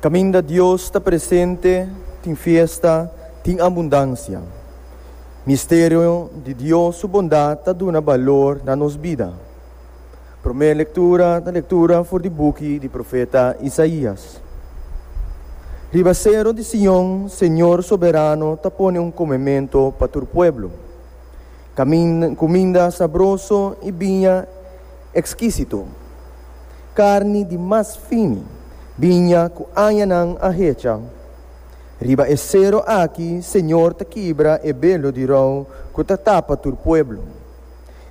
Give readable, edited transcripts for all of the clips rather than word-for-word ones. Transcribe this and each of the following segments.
Kaminda Dios ta presente, tin fiesta, tin abundansia. Misterio di Dios su bondat ta duna balor na nos bida. Promé lektura ta lektura for di buki di profeta Isaías. Riba sero di Sion, Señor Soberano ta pone un komemento pa tur pueblo. Kuminda sabroso i biña ekskisito. Karni di mas fini, biña ku añanan a hecha. Riba e sero aki Señor ta kibra e belo di rou ku ta tapa tur pueblo,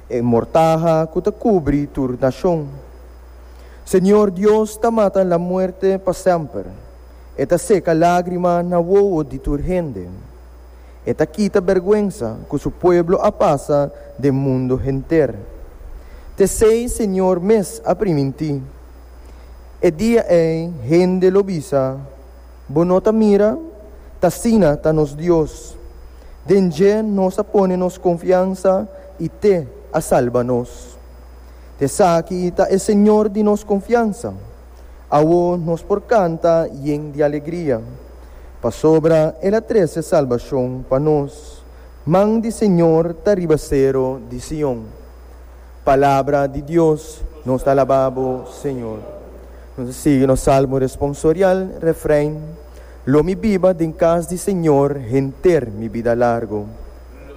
e mortaha ku ta kubri tur nashon. Señor Dios ta mata la muerte pa semper, e ta seka lágrima na wowo di tur hende. E ta kita bèrgwensa ku su pueblo a pasa den mundu henter. T'esei Señor mes a primintí. E dia ei hende lo bisa, Bo no ta mira? T'asina ta nos Dios. Den dje nos a pone nos konfiansa i t'e a salba nos. T'esaki ta e Señor di nos konfiansa. Awo nos por kanta yen di alegria, pasobra el a trese salbashon pa nos. Man di Señor ta riba sero di Sion. Palabra di Dios, Nos ta alabá bo, Señor. Nos ta sigui nos salmo responsorial, refrein, Lo mi biba den kas di Señor henter mi bida largu.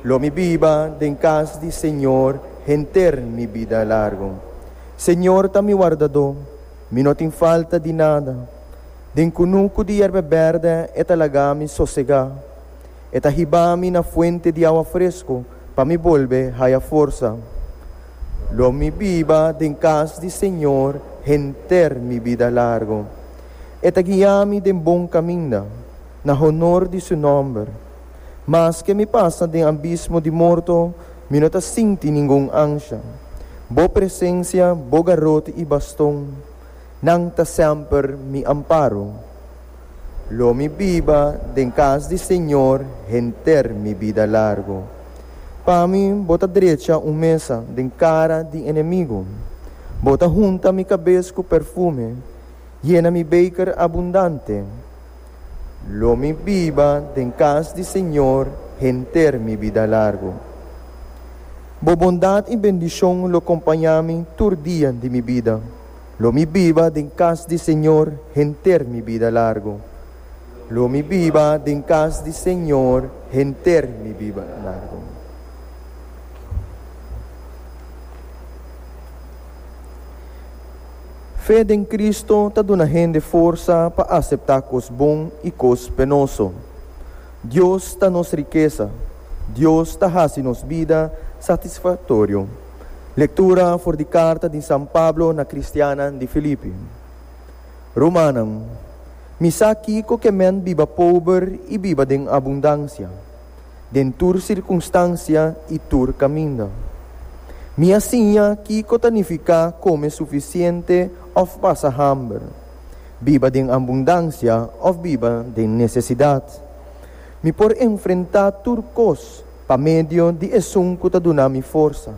Lo mi biba den kas di Señor henter mi bida largu. Señor ta mi wardadó, mi no tin falta di nada. Den kunuku di yerba bèrdè e ta laga mi sosegá. E ta hiba mi na fuente di awa fresku pa mi bolbe haya forsa. Lo mi biba den kas di Señor henter mi bida largu. E ta guia mi den bon kaminda, na honor di su nòmber. Maske mi pasa den abismo di morto, mi no ta sinti ningun ansha. Bo presensia, bo garoti i baston, nan ta semper mi amparo. Lo mi biba den kas di Señor henter mi bida largu. Pa mi bo ta drecha un mesa den kara di enemigu. Bo ta hunta mi kabes ku perfume, yena mi beker abundante. Lo mi biba den kas di Señor henter mi bida largu. Bo bondat i bendishon lo kompañá mi tur dia di mi bida. Lo mi biba den kas di Señor henter mi bida largu. Lo mi biba den kas di Señor henter mi biba largu. Fe den Cristo ta duna hende forsa pa acepta cos bon y cos penoso. Dios ta nos rikesa. Dios ta haci nos bida satisfactorio. Lectura for di carta di San Pablo na cristiannan di Filipi. Rumannan, mi sa kico ke men biba pober y biba den abundancia. Den tur sirkunstansia i tur kaminda. Mi a siña kiko ta nifiká kome sufisiente òf pasa hamber, biba den abundansia òf biba den nesesidat. Mi por enfrentá tur kos pa medio di esun ku ta duna mi forsa.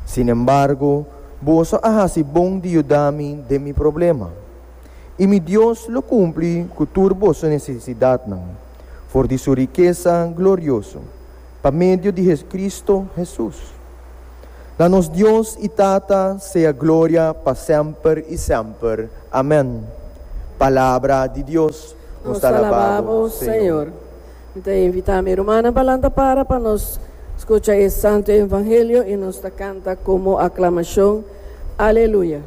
Sinembargo, boso a hasi bon di yuda mi den mi problema. I mi Dios lo kumpli ku tur boso nesesidatnan. For di su rikesa glorioso, pa medio di Cristo Hesus. Na nos Dios i Tata sea gloria pa semper i semper. Amen. Palabra di Dios. Nos ta alabá bo, Señor. Mi ta invitá mi rumannan pa lanta para pa nos skucha e santu evangelio i nos ta kanta komo aklamashon, Aleluya.